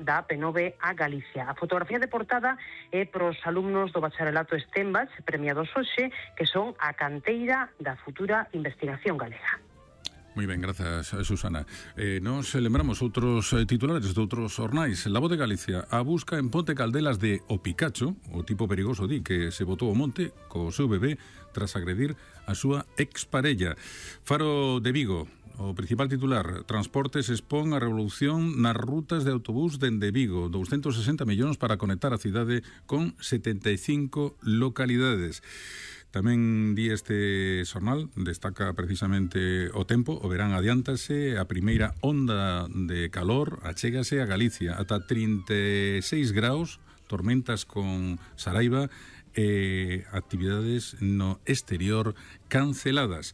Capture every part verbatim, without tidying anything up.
da P nove a Galicia. A fotografía de portada é pros alumnos do bacharelato Stenbach, premiados hoxe, que son a canteira da futura investigación galega. Moi ben, grazas, Susana. Eh, nos lembramos outros eh, titulares de outros jornais. La Voz de Galicia, a busca en Ponte Caldelas de O Picacho, o tipo perigoso di que se botou ao monte co seu bebé tras agredir a súa exparella. Faro de Vigo, o principal titular, Transportes expón a revolución nas rutas de autobús dende Vigo, doscientos sesenta millóns para conectar a cidade con setenta e cinco localidades. Tamén di este xornal, destaca precisamente o tempo, o verán adiántase, a primeira onda de calor achégase a Galicia, ata trinta e seis graus, tormentas con saraiva e actividades no exterior canceladas.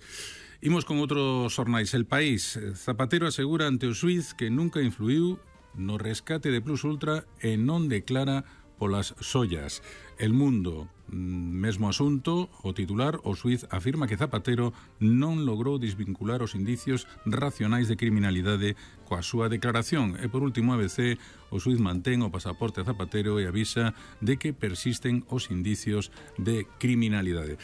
Imos con outros xornais. El País, Zapatero asegura ante o xuíz que nunca influiu no rescate de Plus Ultra e non declara polas sollas. El Mundo, mesmo asunto, o titular, o xuíz afirma que Zapatero non logrou desvincular os indicios racionais de criminalidade coa súa declaración. E por último, A B C, o xuíz mantén o pasaporte a Zapatero e avisa de que persisten os indicios de criminalidade.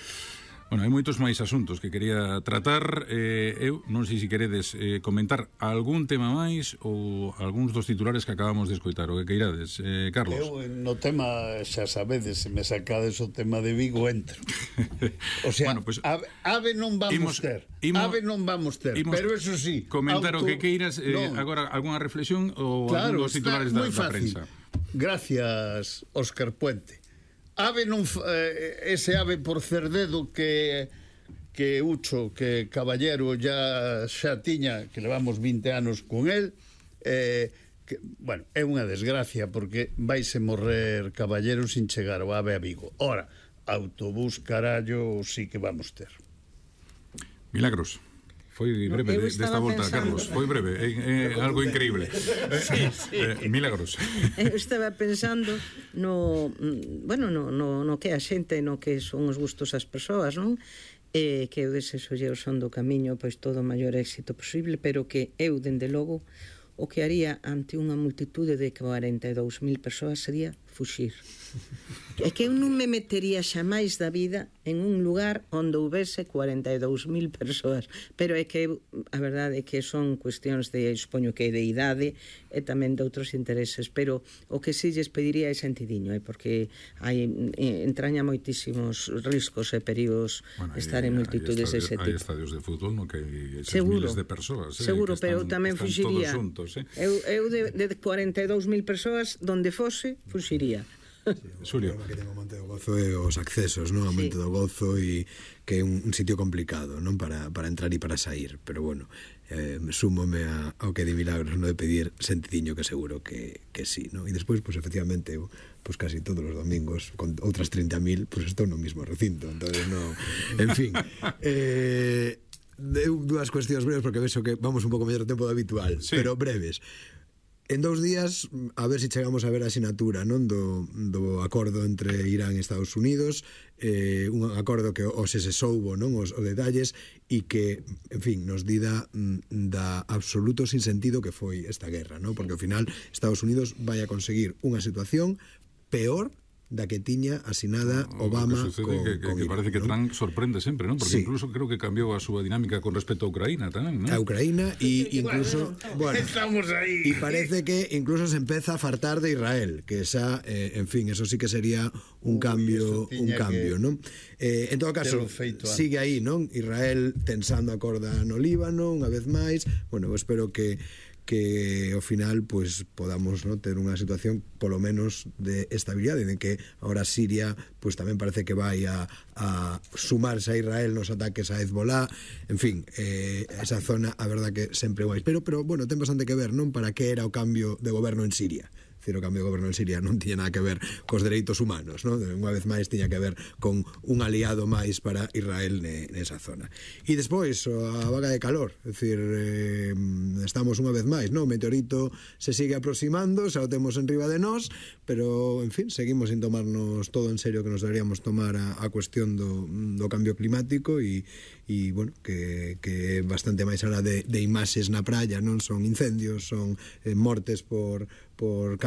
Bueno, hai moitos máis asuntos que quería tratar. eh, Eu non sei se queredes eh, comentar algún tema máis ou algúns dos titulares que acabamos de escoitar, o que queirades, eh, Carlos. Eu no tema, xa sabedes, se me sacades o tema de Vigo, entro. O sea, bueno, pues, ave, ave non vamos imos, ter imos, ave non vamos ter, pero eso sí, comentar auto... o que queiras, eh, no. Agora algunha reflexión ou claro, algún dos titulares da, da prensa. Gracias, Óscar Puente. Ave non, eh, ese ave por Cerdedo que que Ucho, que Caballero ya xa tiña, que levamos vinte anos con el, eh, que, bueno, é unha desgracia porque vaise morrer Caballero sin chegar o ave a Vigo. Ora, autobús carallo sí que vamos ter. Milagros. Foi breve no, desta volta, pensando... Carlos. Foi breve, é, é algo increíble. Sí, sí. Eh, Milagros. Eu estaba pensando no, bueno, no, no, no que a xente, no que son os gustos das persoas, non? Eh, que eu desexolle o son do camiño, pois todo o maior éxito posible, pero que eu, dende logo, o que haría ante unha multitude de cuarenta e dous mil persoas sería fuxir. É que eu non me metería xamais da vida en un lugar onde houvese cuarenta e dous mil persoas, pero é que a verdade é que son cuestións de, expoño que de idade e tamén de outros intereses, pero o que si lles pediría é sentidiño, é porque hai, entraña moitísimos riscos e perigos bueno, estar en multitudes dese tipo. Hai estadios de fútbol no que hai eses miles de persoas, eh, seguro, pero están, tamén fuxiría xuntos, eh? eu, eu de, de cuarenta e dous mil persoas donde fose, fuxiría. Sí, Xulio, o que ten o Monte do Gozo é os accesos, non? O Monte sí. do Gozo e que é un, un sitio complicado, non? Para, para entrar e para sair, pero bueno, eh, súmome a, ao que di Milagros, non de pedir sentidiño, que seguro que, que sí, non? E despois, pues, efectivamente, eu, pues casi todos os domingos con outras trinta mil, pues estou no mismo recinto, entonces non, en fin, eh, eu dúas cuestións breves porque vexo que vamos un pouco mellor tempo do habitual, sí. Pero breves. En dous días, a ver se si chegamos a ver a asinatura, non, do, do acordo entre Irán e Estados Unidos, eh, un acordo que hoxe se soubo, non, os, os detalles, e que, en fin, nos dida da absoluto sinsentido que foi esta guerra, non, porque ao final Estados Unidos vai a conseguir unha situación peor da que tiña asinada Obama o que sucede con, que, que, con que parece Irán, que Trump ¿no? sorprende sempre, non? Porque sí. Incluso creo que cambiou a súa dinámica con respecto a Ucraína tamén, non? A Ucraína e incluso, bueno, estamos aí. E parece que incluso se empeza a fartar de Israel, que esa, eh, en fin, eso sí que sería un Uy, cambio, un cambio, non? Eh, en todo caso, sigue aí, non? Israel tensando a corda no Líbano, unha vez máis. Bueno, eu espero que que ao final pues podamos, ¿no?, ter unha situación polo menos de estabilidade, de que ahora Siria pues tamén parece que vai a, a sumarse a Israel nos ataques a Hezbollah, en fin, eh, esa zona a verdad que sempre vai, pero, pero bueno, ten bastante que ver, non, para que era o cambio de goberno en Siria. Decir, o cambio de goberno en Siria non tiña nada que ver cos dereitos humanos, non? Unha vez máis tiña que ver con un aliado máis para Israel nesa zona. E despois, a vaga de calor, é dicir, eh, estamos unha vez máis, non? O meteorito se sigue aproximando, xa o temos en riba de nós, pero, en fin, seguimos sin tomarnos todo en serio que nos deberíamos tomar a, a cuestión do, do cambio climático e, e bueno, que, que é bastante máis alá de, de imaxes na praia, non? Son incendios, son eh, mortes por, por calor,